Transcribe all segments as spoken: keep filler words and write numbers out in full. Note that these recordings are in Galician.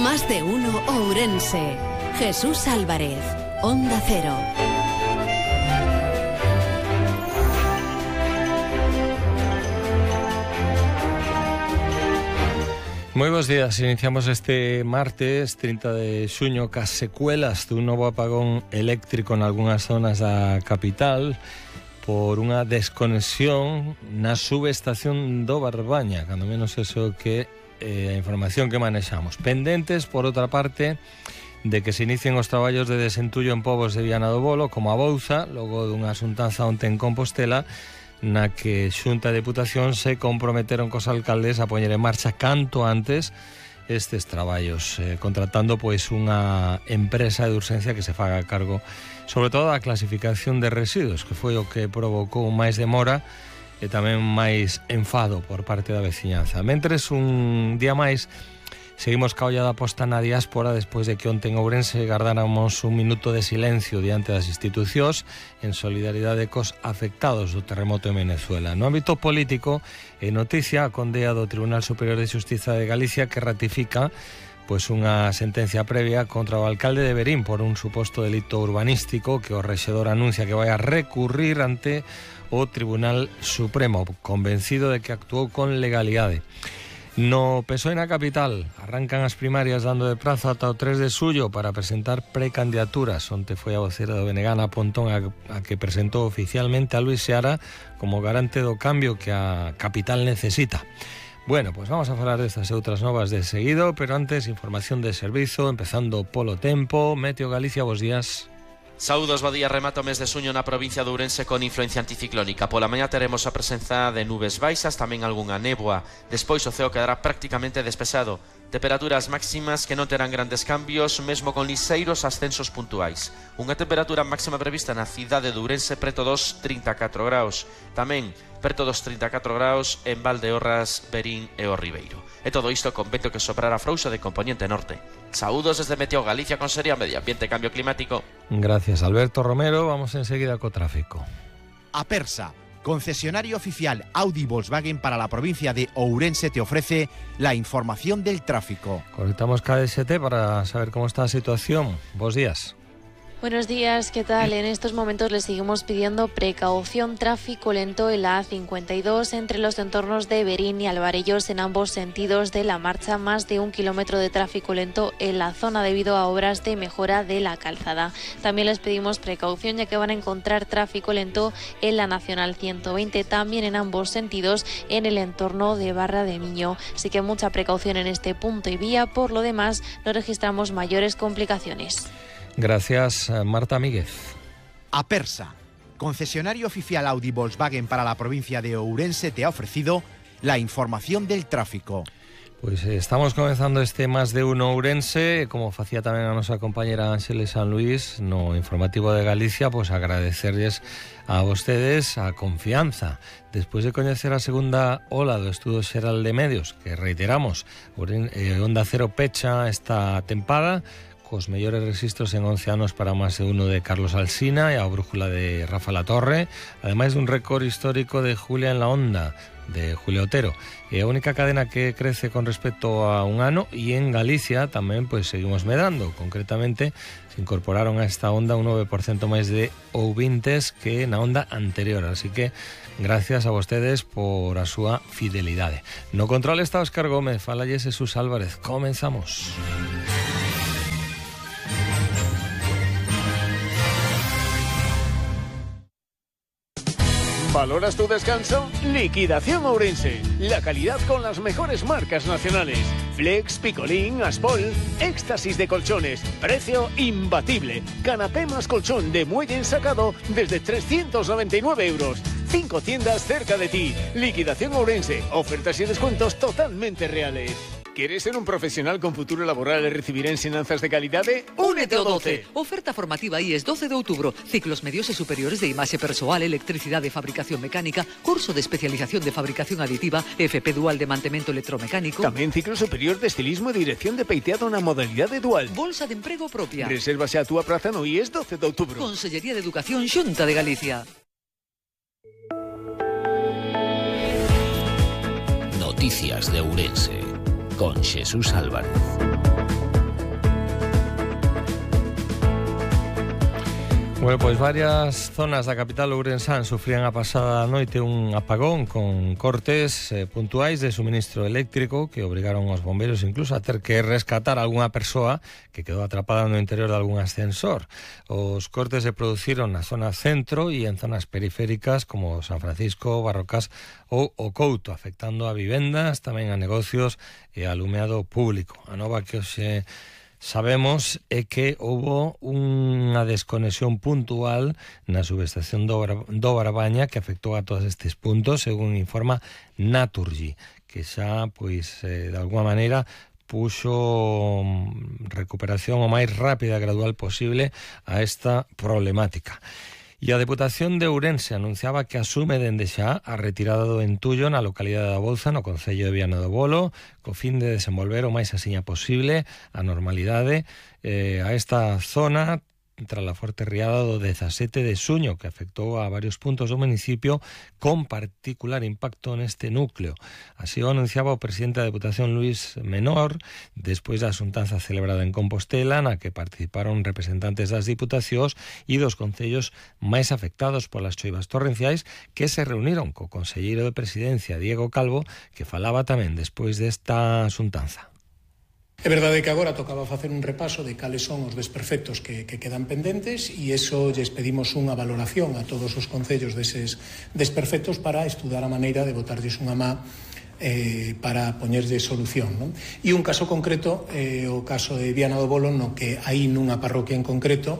Más de uno Ourense. Jesús Álvarez, Onda Cero. Moi bons días, iniciamos este martes trinta de xuño cas secuelas dun novo apagón eléctrico en algunhas zonas da capital por unha desconexión na subestación do Barbaña, cando menos eso que eh, a información que manexamos. Pendentes, por outra parte, de que se inicien os traballos de desentullo en povos de Viana do Bolo, como a Bouza, logo dunha xuntanza onte en Compostela, na que Xunta de Deputación se comprometeron cos alcaldes a poñer en marcha canto antes estes traballos, eh, contratando pois unha empresa de urxencia que se faga cargo sobre todo da clasificación de residuos, que foi o que provocou máis demora e tamén máis enfado por parte da veciñanza. Mentres, un día máis seguimos ca ollada posta na diáspora despois de que onte en Ourense gardáramos un minuto de silencio diante das institucións en solidaridade cos afectados do terremoto en Venezuela. No ámbito político, é noticia a condea do Tribunal Superior de Xustiza de Galicia que ratifica pois unha sentencia previa contra o alcalde de Verín por un suposto delito urbanístico que o rexedor anuncia que vai a recurrir ante o Tribunal Supremo, convencido de que actuou con legalidade. No P S O E na capital arrancan as primarias dando de prazo ata o tres de xullo para presentar precandidaturas. Onte foi a vocera do B N G, Ana Pontón, a, a que presentou oficialmente a Luis Seara como garante do cambio que a capital necesita. Bueno, pues vamos a falar destas e outras novas de seguido, pero antes, información de servizo, empezando polo tempo. Meteo Galicia, bos días. Saúdos, bo día. Remata o mes de suño na provincia de Ourense con influencia anticiclónica. Pola mañá teremos a presenza de nubes baixas, tamén algunha néboa. Despois o ceo quedará prácticamente despexado. Temperaturas máximas que non terán grandes cambios, mesmo con liseiros ascensos puntuais. Unha temperatura máxima prevista na cidade de Ourense preto dos trinta e catro graus. Tamén preto dos trinta e catro graus en Valdeorras, Verín e o Ribeiro. E todo isto con vento que soprará frouxo de componente norte. Saúdos desde Meteo Galicia con Seria Medio Ambiente e Cambio Climático. Gracias, Alberto Romero. Vamos enseguida co tráfico. Apersa, concesionario oficial Audi Volkswagen para la provincia de Ourense, te ofrece la información del tráfico. Conectamos K D S T para saber cómo está la situación. Bos días. Buenos días, ¿qué tal? En estos momentos les seguimos pidiendo precaución, tráfico lento en la A cincuenta y dos entre los entornos de Verín y Alvarellos en ambos sentidos de la marcha, más de un kilómetro de tráfico lento en la zona debido a obras de mejora de la calzada. También les pedimos precaución ya que van a encontrar tráfico lento en la Nacional ciento veinte, también en ambos sentidos en el entorno de Barra de Miño. Así que mucha precaución en este punto y vía, por lo demás no registramos mayores complicaciones. Gracias, Marta Míguez. Apersa, concesionario oficial Audi Volkswagen para la provincia de Ourense, te ha ofrecido la información del tráfico. Pois eh, estamos comenzando este Más de Uno Ourense, como facía tamén a nosa compañera Ángeles San Luis no informativo de Galicia, pois agradecerles a vostedes a confianza. Despois de coñecer a segunda ola do Estudo Xeral de Medios, que reiteramos, eh, Onda Cero pecha esta tempada, cos mellores registros en once anos para Más de Uno de Carlos Alsina e a brújula de Rafa Latorre, ademais dun récord histórico de Julia en la Onda, de Julio Otero. É a única cadena que crece con respecto a un ano, e en Galicia tamén pois seguimos medrando. Concretamente, se incorporaron a esta onda un nove por cento máis de ouvintes que na onda anterior, así que gracias a vostedes por a súa fidelidade. No control está Óscar Gómez, falalle Jesús Álvarez. Comenzamos. ¿Valoras tu descanso? Liquidación Ourense. La calidad con las mejores marcas nacionales. Flex, Picolín, Aspol. Éxtasis de colchones. Precio imbatible. Canapé más colchón de muelle ensacado desde trescientos noventa y nueve euros. Cinco tiendas cerca de ti. Liquidación Ourense. Ofertas y descuentos totalmente reales. ¿Quieres ser un profesional con futuro laboral e recibir ensinanzas de calidade? Únete ao doce. Oferta formativa I E S doce de outubro. Ciclos medios e superiores de imaxe persoal, electricidade e fabricación mecánica, curso de especialización de fabricación aditiva, F P dual de mantemento electromecánico. Tamén ciclo superior de estilismo e dirección de peiteado na modalidade dual. Bolsa de emprego propia. Resérvase a túa praza no I E S doce de outubro. Consellería de Educación, Xunta de Galicia. Noticias de Ourense con Jesús Álvarez. Bueno, pois varias zonas da capital ourensán sufrían a pasada noite un apagón con cortes eh, puntuais de suministro eléctrico que obrigaron aos bombeiros incluso a ter que rescatar a algunha persoa que quedou atrapada no interior de algún ascensor. Os cortes se produciron na zona centro e en zonas periféricas como San Francisco, Barrocas ou o Couto, afectando a vivendas, tamén a negocios e a alumeado público. A nova que hoxe sabemos é que houbo unha desconexión puntual na subestación do, Bar do Barbaña que afectou a todos estes puntos, según informa Naturgy, que xa, pois, eh, de alguma maneira puxo recuperación o máis rápida e gradual posible a esta problemática. E a Deputación de Ourense anunciaba que asume dende xa a retirada do entullo na localidade da Bouza, no concello de Viana do Bolo, co fin de desenvolver o máis asiña posible a normalidade eh, a esta zona tras a forte riada do dezasete de xuño que afectou a varios puntos do municipio con particular impacto neste núcleo. Así o anunciaba o presidente da Deputación Luís Menor despois da xuntanza celebrada en Compostela na que participaron representantes das diputacións e dos concellos máis afectados polas choivas torrenciais que se reuniron co conselleiro de Presidencia Diego Calvo que falaba tamén despois desta xuntanza. É verdade que agora tocaba facer un repaso de cales son os desperfectos que, que quedan pendentes e iso lles pedimos unha valoración a todos os concellos deses desperfectos para estudar a maneira de botarlles unha má eh, para poñerlle solución, non? E un caso concreto, eh, o caso de Viana do Bolo, no que aí nunha parroquia en concreto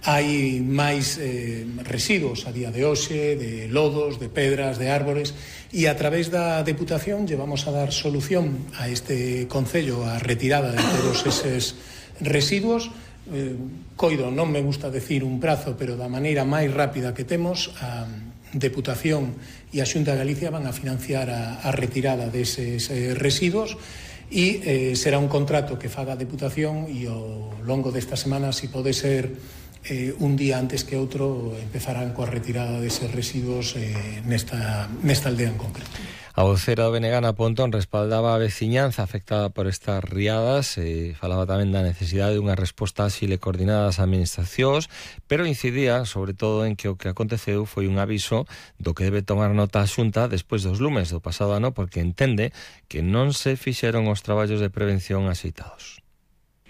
hai máis eh, residuos a día de hoxe, de lodos, de pedras, de árbores, e a través da Deputación llevamos a dar solución a este concello a retirada de todos eses residuos. Eh, coido, non me gusta decir un prazo, pero da maneira máis rápida que temos, a Deputación e a Xunta de Galicia van a financiar a, a retirada deses eh, residuos e eh, será un contrato que faga a Deputación e ao longo desta semana, se pode ser Eh, un día antes que outro, empezarán coa retirada deses residuos eh, nesta, nesta aldea en concreto. A vocera do B N G, Ana Pontón, respaldaba a veciñanza afectada por estas riadas e falaba tamén da necesidade de unha resposta áxil e coordinada das administracións, pero incidía sobre todo en que o que aconteceu foi un aviso do que debe tomar nota a Xunta despois dos lumes do pasado ano, porque entende que non se fixeron os traballos de prevención axeitados.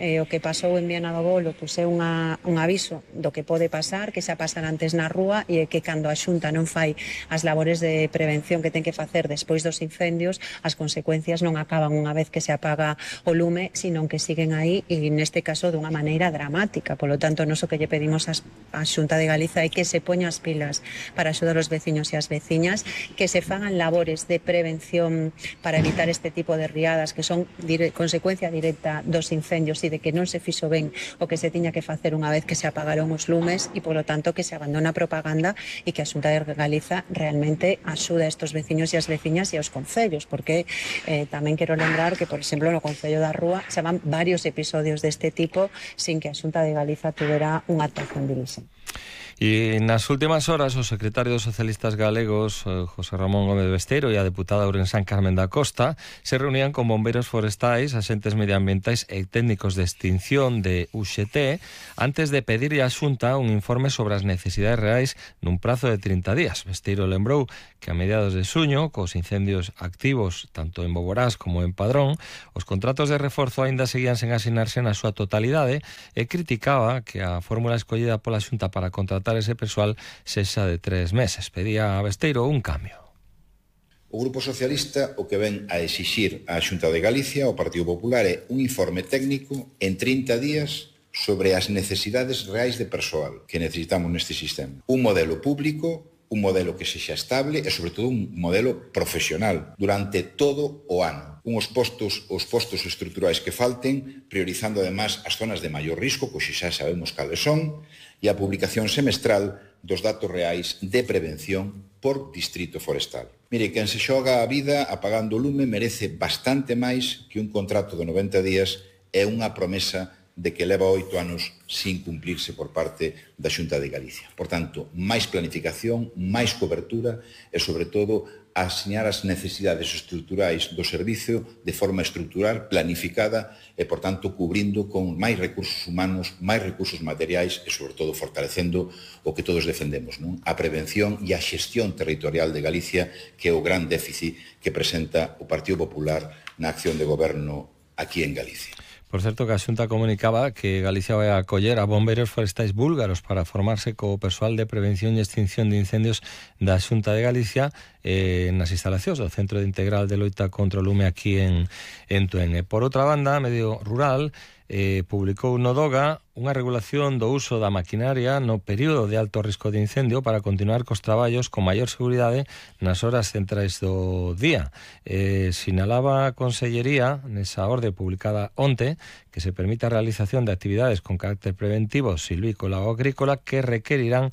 Eh, o que pasou en Viana do Bolo pois é unha, un aviso do que pode pasar, que xa pasar antes na rúa e que cando a Xunta non fai as labores de prevención que ten que facer despois dos incendios, as consecuencias non acaban unha vez que se apaga o lume, sino que siguen aí e neste caso dunha maneira dramática. Polo tanto, nos o que lle pedimos á Xunta de Galiza é que se poña as pilas para axudar os veciños e as veciñas, que se fagan labores de prevención para evitar este tipo de riadas que son dire- consecuencia directa dos incendios e de que non se fixo ben o que se tiña que facer unha vez que se apagaron os lumes e, polo tanto, que se abandona a propaganda e que a Xunta de Galiza realmente axuda a estos veciños e as veciñas e aos concellos, porque eh, tamén quero lembrar que, por exemplo, no Concello da Rúa se van varios episodios deste tipo sin que a Xunta de Galiza tuvera unha actuación dirixente. E nas últimas horas o secretario dos socialistas galegos, José Ramón Gómez Besteiro, e a deputada ourensán Carmen da Costa se reunían con bombeiros forestais, axentes medioambientais e técnicos de extinción de U X T antes de pedirlle á Xunta un informe sobre as necesidades reais nun prazo de trinta días. Besteiro lembrou que a mediados de xuño, cos incendios activos tanto en Boborás como en Padrón, os contratos de reforzo aínda seguían sen asinarse na súa totalidade e criticaba que a fórmula escollida pola Xunta para contratar ese persoal sexa de tres meses. Pedía a Besteiro un cambio. O Grupo Socialista o que ven a exixir á Xunta de Galicia, ao Partido Popular, é un informe técnico en trinta días sobre as necesidades reais de persoal que necesitamos neste sistema. Un modelo público, un modelo que sexa estable e, sobre todo, un modelo profesional durante todo o ano. Uns postos, os postos estruturais que falten, priorizando, además, as zonas de maior risco, pois xa sabemos cales son, e a publicación semestral dos datos reais de prevención por distrito forestal. Mire, quen se xoga a vida apagando o lume merece bastante máis que un contrato de noventa días e unha promesa de que leva oito anos sin cumplirse por parte da Xunta de Galicia. Por tanto, máis planificación, máis cobertura e, sobre todo, asiñar as necesidades estruturais do servicio de forma estrutural, planificada e, por tanto, cubrindo con máis recursos humanos, máis recursos materiais e, sobre todo, fortalecendo o que todos defendemos, non? A prevención e a xestión territorial de Galicia, que é o gran déficit que presenta o Partido Popular na acción de goberno aquí en Galicia. Por certo, que a Xunta comunicaba que Galicia vai a acoller a bombeiros forestais búlgaros para formarse co persoal de prevención e extinción de incendios da Xunta de Galicia eh, nas instalacións do Centro de Integral de Loita contra o Lume aquí en, en Tuene. Por outra banda, Medio Rural eh, publicou no DOGA unha regulación do uso da maquinaria no período de alto risco de incendio para continuar cos traballos con maior seguridade nas horas centrais do día. Eh, sinalaba a Consellería, nesa orde publicada onte, que se permite a realización de actividades con carácter preventivo silvícola ou agrícola que requerirán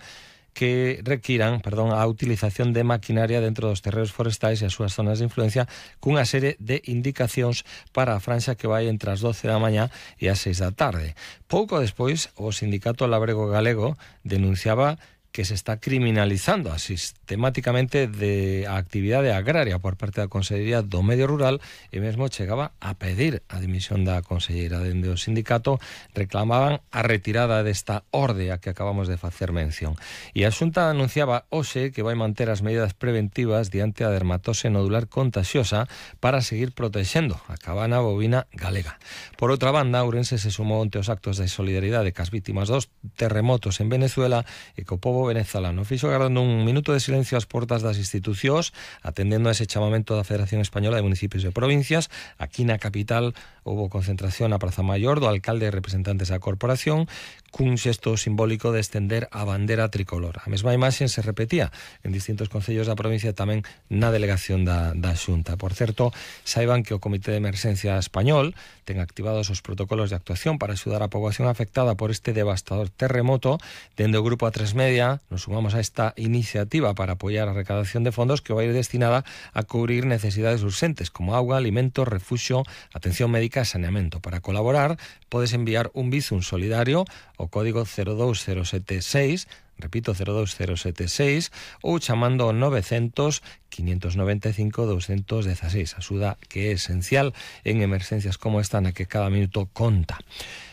que requiran, perdón, a utilización de maquinaria dentro dos terreos forestais e as súas zonas de influencia cunha serie de indicacións para a franxa que vai entre as doce da mañá e as seis da tarde. Pouco despois, o Sindicato Labrego Galego denunciaba que se está criminalizando sistemáticamente de a actividade agraria por parte da Consellería do Medio Rural e mesmo chegaba a pedir a dimisión da conselleira. Dende o sindicato reclamaban a retirada desta orde a que acabamos de facer mención. E a Xunta anunciaba hoxe que vai manter as medidas preventivas diante a dermatose nodular contagiosa para seguir protexendo a cabana bovina galega. Por outra banda, Ourense se sumou onte os actos de solidaridade cas vítimas dos terremotos en Venezuela e co pobo venezolano. Fixo agardando un minuto de silencio ás portas das institucións, atendendo a ese chamamento da Federación Española de Municipios e Provincias. Aquí na capital houve concentración na Praza Maior do alcalde e representantes da corporación, cun xesto simbólico de estender a bandera tricolor. A mesma imaxe se repetía en distintos concellos da provincia, tamén na delegación da, da Xunta. Por certo, saiban que o Comité de Emerxencia Español ten activados os protocolos de actuación para axudar a poboación afectada por este devastador terremoto. Dende o Grupo A tres Media nos sumamos a esta iniciativa para apoiar a recadación de fondos que vai ir destinada a cubrir necesidades urxentes como auga, alimentos, refuxio, atención médica e saneamento. Para colaborar, podes enviar un bizum solidario o código cero dous cero sete seis, repito, cero dous cero sete seis, ou chamando ao novecientos, quinientos noventa e cinco, doscientos dieciséis. Axuda que é esencial en emerxencias como esta na que cada minuto conta.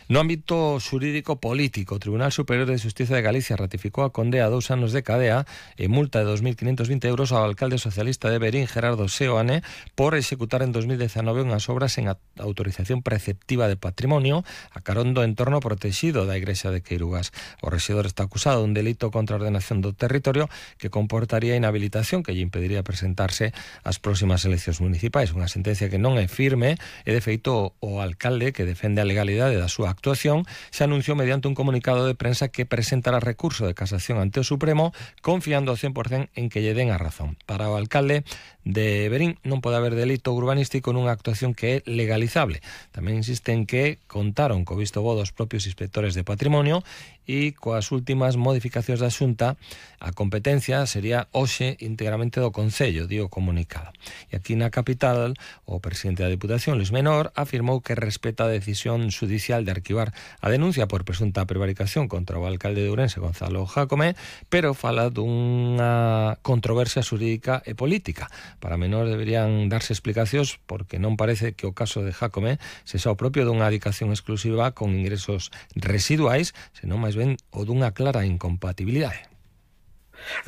No ámbito xurídico político, o Tribunal Superior de Xustiza de Galicia ratificou a condea a dous anos de cadea e multa de dos mil quinhentos vinte euros ao alcalde socialista de Verín, Gerardo Seoane, por executar en dos mil dezanove unhas obras en autorización preceptiva de patrimonio a carón do entorno protegido da Igrexa de Queirugas. O rexedor está acusado dun delito contra a ordenación do territorio que comportaría inhabilitación que lle impediría presentarse ás próximas eleccións municipais. Unha sentencia que non é firme e, de feito, o alcalde, que defende a legalidade da súa actuación, se anunciou mediante un comunicado de prensa que presentará recurso de casación ante o Supremo, confiando ao cen por cen en que lle den a razón. Para o alcalde de Verín non pode haber delito urbanístico nunha actuación que é legalizable. Tamén insisten que contaron co visto bo dos propios inspectores de patrimonio e coas últimas modificacións da Xunta a competencia sería hoxe íntegramente do Concello, dio comunicado. E aquí na capital, o presidente da Diputación, Luis Menor, afirmou que respeta a decisión judicial de arquivar a denuncia por presunta prevaricación contra o alcalde de Ourense, Gonzalo Jácome, pero fala dunha controversia xurídica e política. Para Menor deberían darse explicacións porque non parece que o caso de Jácome sexa o propio dunha adicación exclusiva con ingresos residuais, senón máis ben o dunha clara incompatibilidade.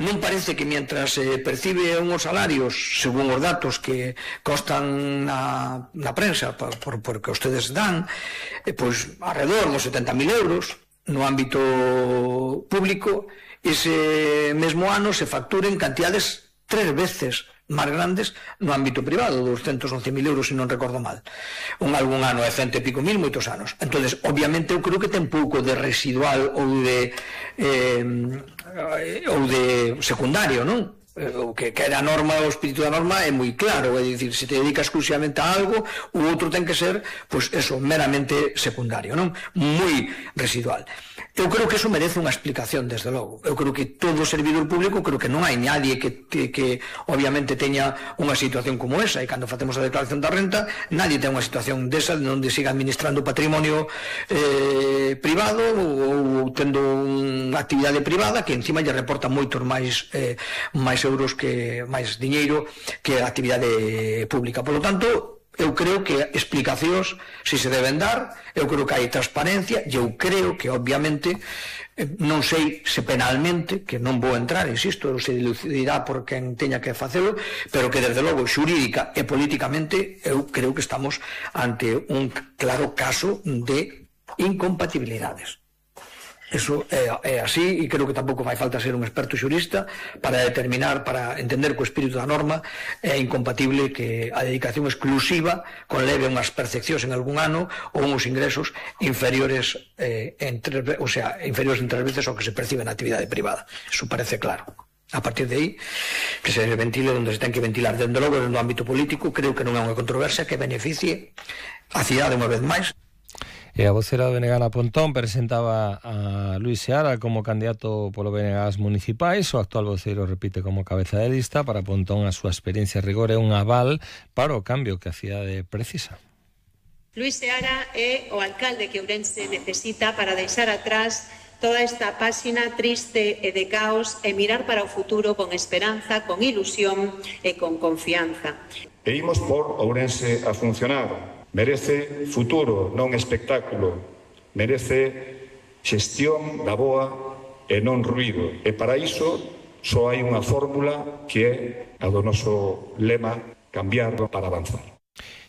Non parece que mientras se eh, percibe unhos salarios, según os datos que constan na, na prensa, por, por, por que ustedes dan, eh, pois alrededor dos setenta mil euros no ámbito público, ese mesmo ano se facturen cantidades tres veces máis grandes no ámbito privado, doscientos once mil euros, se non recordo mal. Un algún ano é cento e pico mil, moitos anos. Entonces, obviamente, eu creo que ten pouco de residual ou de eh, ou de secundario, non? o que, que a norma, o espírito da norma é moi claro, é dicir, se te dedicas exclusivamente a algo, o outro ten que ser, pois eso, meramente secundario, non? Moi residual. Eu creo que eso merece unha explicación, desde logo. Eu creo que todo servidor público, creo que non hai nadie que, que, que obviamente teña unha situación como esa, e cando facemos a declaración da renta, nadie ten unha situación desa onde siga administrando patrimonio eh, privado ou, ou tendo unha actividade privada que encima lle reporta moitos máis eh, máis euros, que máis diñeiro que a actividade pública. Por lo tanto, eu creo que explicacións si se deben dar, eu creo que hai transparencia, e eu creo que obviamente non sei se penalmente, que non vou entrar, insisto, se dilucidirá por quen teña que facelo, pero que desde logo xurídica e políticamente eu creo que estamos ante un claro caso de incompatibilidades. Eso é, é así, e creo que tampouco fai falta ser un experto xurista para determinar, para entender que o espírito da norma é incompatible que a dedicación exclusiva conleve unhas percepcións en algún ano ou uns ingresos inferiores eh, en tres, o sea, inferiores en tres veces ao que se percibe na actividade privada. Eso parece claro. A partir de aí, que se ventile onde se ten que ventilar. Dende logo, no ámbito político, creo que non é unha controversia que beneficie a cidade unha vez máis. E a vocera do B N G na Pontón presentaba a Luís Seara como candidato polo B N G ás municipais. O actual voceiro repite como cabeza de lista. Para Pontón a súa experiencia e rigor é un aval para o cambio que a cidade precisa. Luís Seara é o alcalde que Ourense necesita para deixar atrás toda esta páxina triste e de caos e mirar para o futuro con esperanza, con ilusión e con confianza. E imos por Ourense a funcionar. Merece futuro, non espectáculo. Merece xestión da boa e non ruído. E para iso só hai unha fórmula que é a do noso lema: cambiar para avanzar.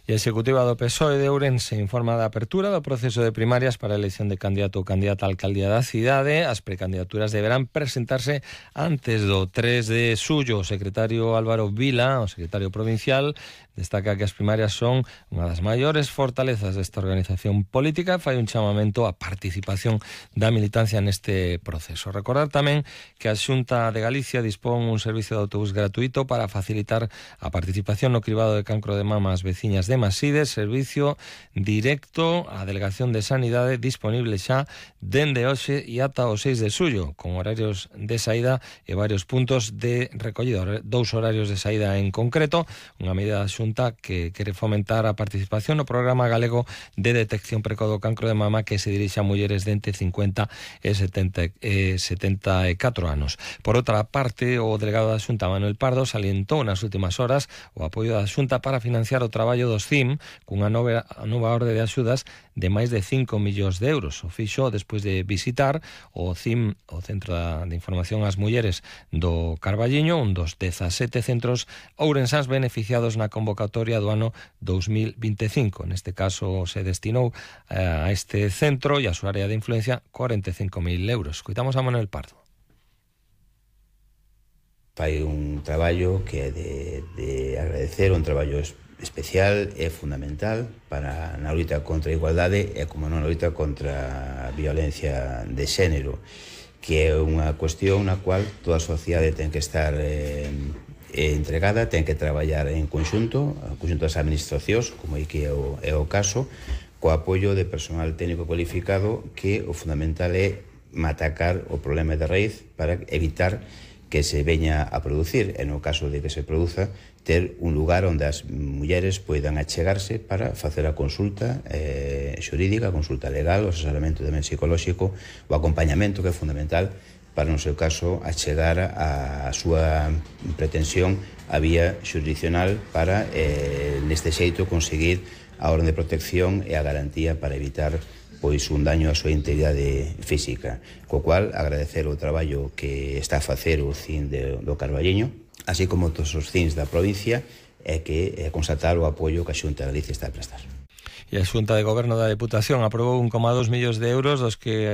E a executiva do P S O E de Ourense informa da apertura do proceso de primarias para a elección de candidato ou candidata á alcaldía da cidade. As precandidaturas deberán presentarse antes do tres de xullo. O secretario Álvaro Vila, o secretario provincial, destaca que as primarias son unha das maiores fortalezas desta organización política e fai un chamamento á participación da militancia neste proceso. Recordar tamén que a Xunta de Galicia dispón un servicio de autobús gratuito para facilitar a participación no cribado de cancro de mama ás veciñas de Maside, servicio directo á Delegación de Sanidade disponible xa dende hoxe e ata o seis de xullo, con horarios de saída e varios puntos de recollida, dous horarios de saída en concreto, unha medida da Xunta que quere fomentar a participación no programa galego de detección precoz do cancro de mama que se dirixe a mulleres de entre cincuenta e setenta e catro anos. Por outra parte, o delegado da Xunta, Manuel Pardo, salientou nas últimas horas o apoio da Xunta para financiar o traballo dos C I M cunha nova, nova orde de axudas de máis de cinco millóns de euros. O fixo despois de visitar o C I M, o Centro de Información ás Mulleres do Carballiño, un dos dezasete centros ourensáns beneficiados na convocatoria do ano dous mil vinte e cinco. Neste caso se destinou a este centro e a súa área de influencia cuarenta e cinco mil euros. Coitamos a Manuel Pardo. Fai un traballo que é de, de agradecer, un traballo especial e fundamental para na loita contra a igualdade e, como non, na loita contra a violencia de xénero, que é unha cuestión na cual toda a sociedade ten que estar eh, entregada, ten que traballar en conxunto, en conxunto das administracións, como é que é o, é o caso, co apoio de personal técnico cualificado, que o fundamental é matacar o problema de raíz para evitar que se veña a producir, e no caso de que se produza, ter un lugar onde as mulleres poidan achegarse para facer a consulta eh, xurídica, a consulta legal, o asesoramento tamén psicolóxico, o acompañamento, que é fundamental para, no seu caso, achegar a súa pretensión a vía xurisdiccional para, eh, neste xeito, conseguir a orden de protección e a garantía para evitar pois un daño á súa integridade física. Co cual, agradecer o traballo que está a facer o C I N de, do Carballiño, así como todos os C I Ns da provincia, e que é constatar o apoio que a Xunta de Galicia está a prestar. E a Xunta de Goberno da Deputación aprobou un coma dos millóns de euros dos que